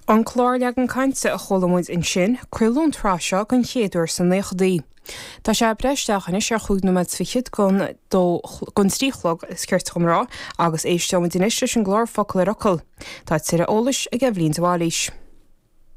An clár Leagan Cainte a chuala muid ansin, craoladh an tsraith seo den chéad uair sna naochadaí. Tá sé ag breith isteach anois ar chúig nóiméad is fichead don dó, don trí a chlog, is cirte dhom a rá, agus éisteoimid anois leis an gclár Focal ar Fhocal. Tá tuilleadh eolais ag Eibhlín de Bhailís.